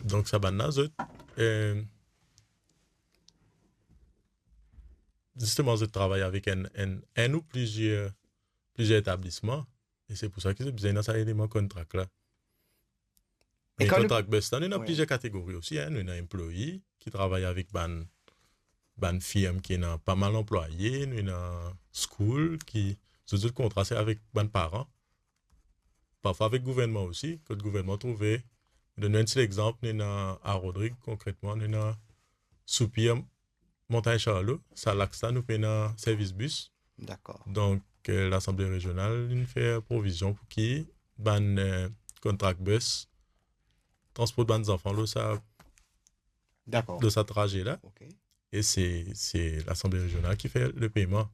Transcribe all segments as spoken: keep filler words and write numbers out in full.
Donk sa bann la, zot, eh, zisteman, zot travay avek enn, enn, enn ou plizier, plizier etablisman, e se pou sa ki zot bizin ena sa eleman kontrak la. E me kan nou kontrak bus la, nou ena, wi, plizier kategori osi, hein. Nou ena employee ki travay avek bann, bann firm ki ena pa mal anplwaye, nou ena school ki, zot, zot kontra se avek bann paran. Parfwa avek gouvernman osi, kot gouvernman trouve, donn enn ti lexanp, nou ena a Rodrig, konkretman, nou ena Soupir, Montagne Charlot, sa laks la, nou pena servis bis. Dakor. Donk, eh, Lasanble Rezional, li fer provizion pou ki bann, eh, kontrak bus transport bann zanfan lor sa, dakor, lor sa traze la. Ok. E se, se Lasanble Rezional ki fer le peyman.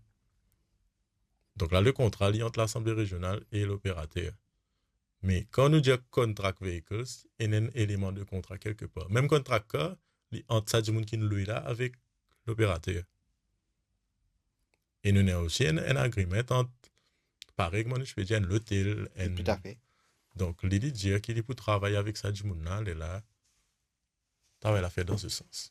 Donk la, le kontra, li ant Lasanble Rezional e loperater. Me kan nou dir contract vehicles, ena enn eleman de kontra kelkepar. Mem contract car, li ant sa dimoun ki lwe la avek loperater. E nou ena osi enn, enn agreement ant, parey kouma nou ti pe dir, enn lotel, enn... Toutafe. Donk, li, li dir ki li pou travay avek sa dimoun la, lerla, travay la fer dan se sans.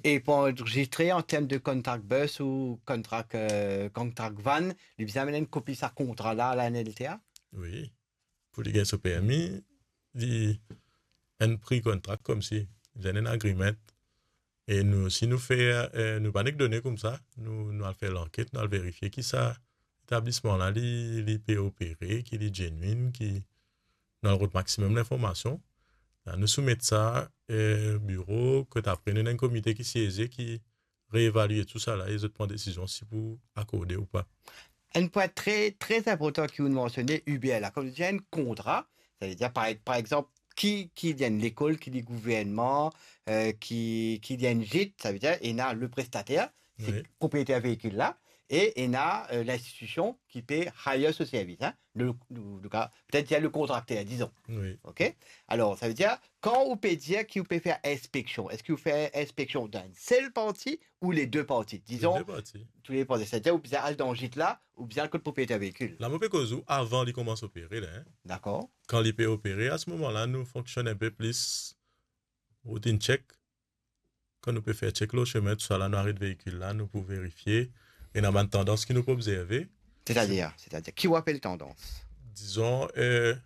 E pou anrezistre an term de contract bus ou contract, eh, contract van, li bizin amenn enn kopi sa kontra la, la N L T A? Wi. Pou li gagn so permi, li enn pre-contract koumsi, li enn agreement. E nou, si nou fer, eh, nou pa nek done koumsa, nou, nou al fer lanket, nou al verifie ki sa etablisman la, li, li pe opere, ki li genuine, ki nou al rod maximum linformasion. La, nou soumet sa, eh, biro, kot apre nou ena enn komite ki sieze, ki reevalie tou sa la e zot pran desizion si pou akorde ou pa. Enn pwin tre, tre inportan ki ou mansione, Hubert, la, kan ou dir enn kontra, savedir, par, par exanp, ki, ki li enn lekol, ki li gouvernman, eh, ki, ki li enn gîte, savedir, ena le prestater, se, wi, propriyeter veikil la, e ena, eh, linstitision ki pe hire so servis, hein. Le, le, le ka, petet dir le kontrakter, dizon. Wi. Ok? Alor, savedir, kan ou pe dir ki ou pe fer inspeksion, eski ou fer inspeksion dan enn sel parti ou le de parti? Dizon, le de parti. Tou le parti. Savedir, ou bizin al dan gîte la, ou bizin al kot propriyeter veikil. La, mo pe koz ou avan li koumans opere la, hein. Dakor. Kan li pe opere, a se moman la, nou fonksionn enpe plis routine check. Kan nou pe fer check lor sime, tou sa la, nou aret veikil la, nou pou verifie. Ena bann tandans ki nou pou obzerve. Setadir, setadir, ki ou apel tandans? Dizon, eh,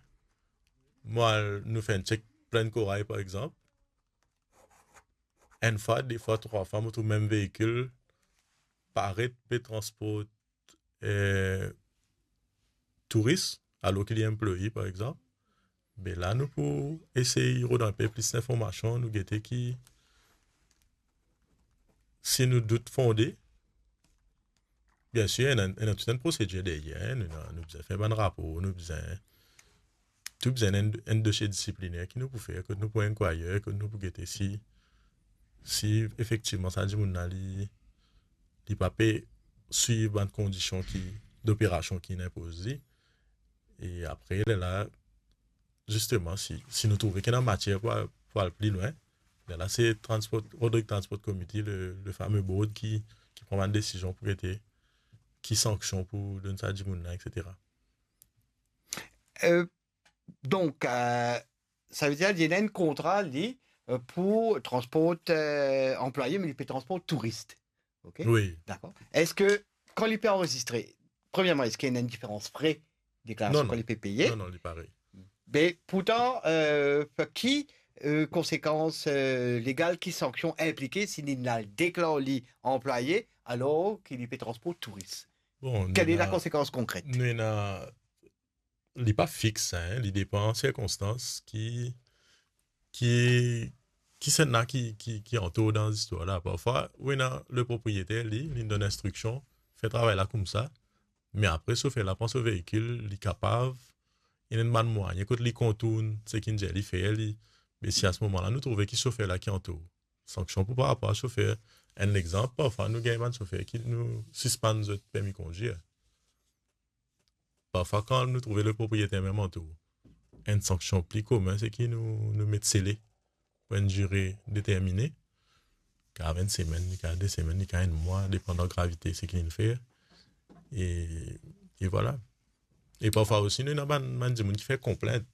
mwa, nou fer enn check Plaine Corail, par exanp. Enn fwa, de fwa, trwa fwa, mo trouv mem veikil paret pe transport, eh, touris, alor ki li employee, par exanp. Be la, nou pou esey rod enpe plis linformasion, nou gete ki, si nou dout fonde, biensir, ena, ena tou enn prosedir deryer, hein, nou, nou bizin fer bann rapor, nou bizin, tou bizin enn, enn dosie disipliner ki nou pou fer, kot nou pou enkwayr, kot nou pou gete si, si efektivman sa dimoun la, li, li pa pe swiv bann kondision ki, doperasion ki inn inpoz li. E apre, lerla, zisteman, si, si nou trouve ki ena matier pou al, pou al pli lwin, lerla se Transport, Rodrig Transport Committee, le, le fame board ki, ki pran bann desizion pou gete ki sanksion pou donn sa dimoun la, et cetera. Eh, donk, eh, savedir, li ena enn kontra, li, eh, pou transport, eh, anplwaye, me li pe transport touris. Ok? Wi. Dakor. Eski, kan li pe anrezistre, premierman, eski ena enn diferans fre deklarasion, non, non, kan li pe peye? Non, non, li parey. Be, pourtan, eh, ki, eh, konsekans, eh, legal, ki sanksion inplike si li al deklar li anplwaye, alor ki li pe transport touris? Bon, kel ena, lakonsekans konkret? Nou ena, li pa fix, hein, li depan sirkonstans ki, ki, ki sannla ki, ki, ki antour dan zistwar la. Parfwa, ou ena le propriyeter, li, li donn instriksion, fer travay la koumsa, me apre, sofer la pran so veikil, li kapav, ena enn bann mwayin kot li kontourn seki nou dir li fer, li, me si a se moman la, nou trouve ki sofer la ki antour, sanksion pou par rapor a sofer. Enn lexanp, parfwa nou gagn bann sofer ki nou sispann zot permi kondwir. Parfwa, kan nou trouve le propriyeter mem antour, enn sanksion pli komin, seki nou, nou met sele pou enn dire determine. Li kav enn semenn, li kav de semenn, li kav enn mwa, depandan gravite seki li fer. E, e vwala. E parfwa osi, nou ena bann, bann dimoun ki fer konplint.